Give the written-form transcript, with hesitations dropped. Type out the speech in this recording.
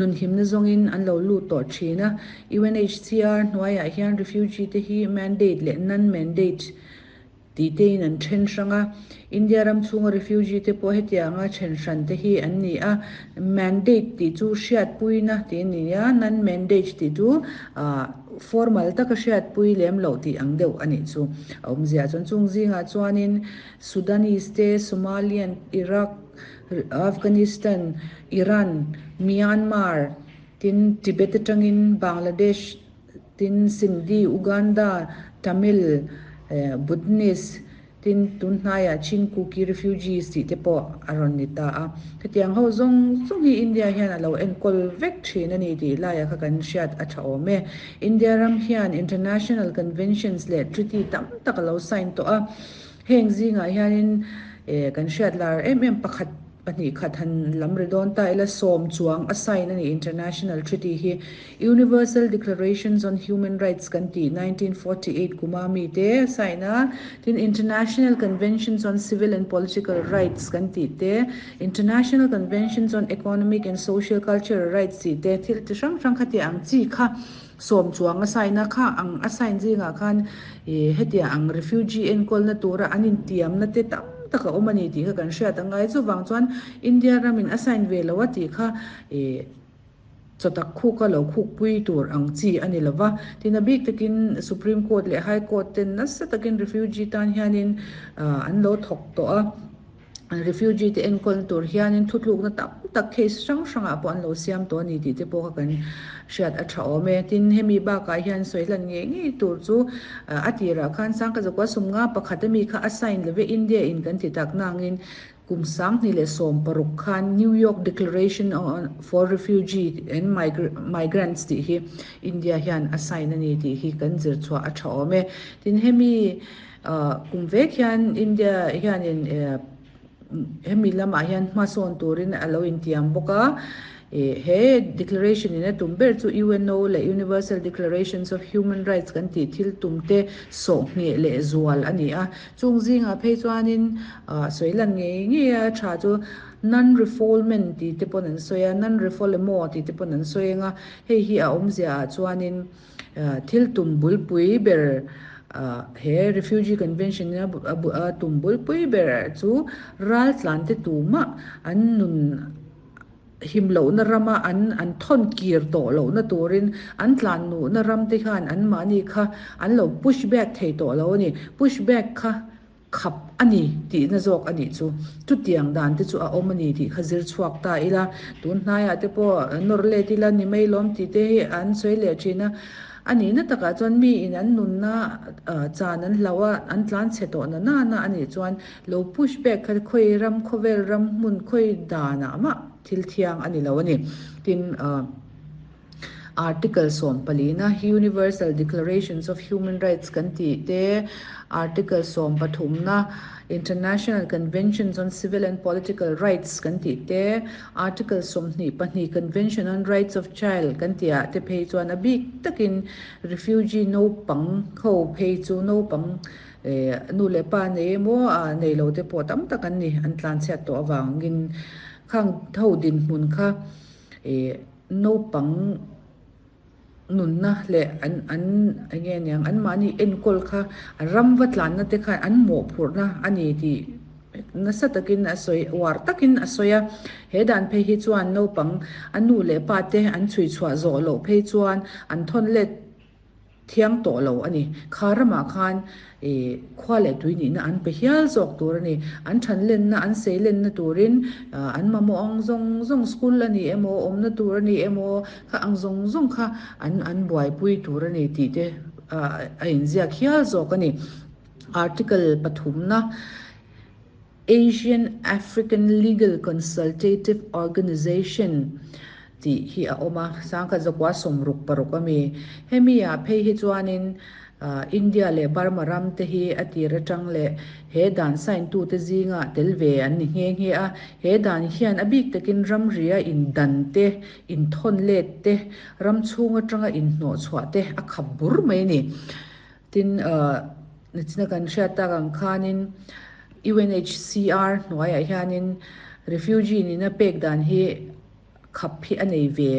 Nunhimna zawngin an lo lut tawh thin a. UNHCR hnuaiah hian refugee te hi mandate leh non-mandate tih tein an then hrang a. India ram chhunga refugee te pawh hetianga then hran te hi an ni a. Mandate tih chu hriatpuina tih a ni a, non-mandate tih chu formal taka hriatpui lem loh tih ang deuh a nih chu. A awmzia chuan chung zingah chuanin Sudanese te, Somalian, Iraq, Afghanistan, Iran, Myanmar, tin Tibet atangin Bangladesh, tin Sindhi, Uganda, Tamil, Bhutanese, tin tunhnaiah Chin Kuki refugees tih te pawh a rawn ni ta a. Hetiang ho zawng zawng hi India hian a lo enkawl vek thin a ni tih laiah kha kan hriat a tha awm e. India ram hian international conventions leh treaty tam tak a lo sign tawh a. Heng zingah hianin kan hriat lar em em pakhat pahnih khat han lam ri dawn ta ila sawm chuang a sign a ni International Treaty hi Universal Declarations on Human Rights kan tih 1948 kuma mi te a sign a, tin International Conventions on Civil and Political Rights kan tih te, International Conventions on Economic and Social Cultural Rights tih te thil chi hrang hrang kha tih ang chi kha Sawm chuang a sign a kha ang a sign zingah khan ih hetiang ang refugee enkawlna tura an intiamna te tam tak a awm a ni tih kha kan hriat a ngai. Chuvang chuan India ramin a sign ve lo a tih kha ih chawtak khuk a lo khukpui tur ang chi a ni lo va. Tin a bik takin Supreme Court leh High Court ten nasa takin refugee tan hianin an lo thawk tawh a. Refugee te enkawl tur hianin thutlukna tam tak case hrang hrangah pawh an lo siam tawh a ni tih te pawh kha kan hriat a tha awm e. Tin, hemi bakah hian sawi hlan ngei ngei tur chu a tirah khan Sangkazakua sumnga pakhat ami kha a sign love India in kan ti tak nangin kum 2016 khan New York Declaration on for Refugee and Migrants tih hi India hian a sign a ni tih hi kan zir chhuah a tha awm e. Tin, hemi Kum vek hian India hianin hemi lamah hian hmasawn turin a lo intiam bawk a. He declaration in a tum ber chu UNO leh Universal Declarations of Human Rights kan tih thil tum te sawh ngheh leh zual a ni a. Chung zingah phei chuanin sawi lan ngei ngei a tha chu non-refoulement tih te pawn an sawi a, non-refoulement tih te pawn an sawi ang a. Hei hi a awmzia ah chuanin Thil tum bulpui ber he Refugee Convention in a tum bulpui ber chu raltlante tumah an nun him lohna rama an an thawn kir tawh lohna turin an tlan nuhna ram te khan anmahni kha an lo push back thei tawh lo a ni. Push back kha Khap a ni tihna zawk a nih chu. Chutiang dan te chu a awm a ni tih kha zir chhuak ta ila, tun hnaiah te pawh nawr let ila ni mai lawm tih te hi an sawi leh thin a. A nihna takah chuan miin an nunna chan an hlauh a, an tlan chhe tawh na nana a nih chuan lo push back kha khawi ram khawvel ram hmun khawi danah mah thil thiang a ni lo a ni. Tin. Article 14-a Universal Declarations of Human Rights kan tih te, Article 13-na International Conventions on Civil and Political Rights kan tih te, Article 22 Convention on Rights of Child kan tih ah te phei chuan a bik takin refugee naupang ho phei chu naupang nu leh pa nei emaw nei lo te pawh tam tak an ni, an tlanchhiat tawh avangin khang ho dinhmun kha Naupang nunna leh an an eng nge niang anmahni enkawl kha a ram va tlanna te khan an mawhphurhna a ni tih nasa takin a sawi uar takin a sawi a. He dan phei hi chuan naupang a nu leh pa te an chhui chhuah zawh loh phei chuan an thawn let Thiang tawh lo a ni. Kha ramah khan ih khua leh tui nihna an pe hial zawk tur a ni. An than lenna, an sei lenna turin an mamawh ang zawng zawng school a ni emaw, awmna tur a ni emaw, kha ang zawng zawng kha an an buaipui tur a ni tih te a inziak hial zawk a ni. Article pathumna Asian African Legal Consultative Organization tih hi a awm a, sangkhat zakua 66 a mi. Hemi ah phei hi chuanin India leh Burma ram te hi a tir atang leh he dan sign tute zingah tel ve an ni nghe nghe a. He dan hian a bik takin ramria indan te, inthawn let te, ram chhung atanga inhnawhchhuah te a khap bur mai a ni. Tin, nichina kan hriat tak ang khanin UNHCR hnuaiah hianin refugee nihna pek dan hi khap hi a nei ve.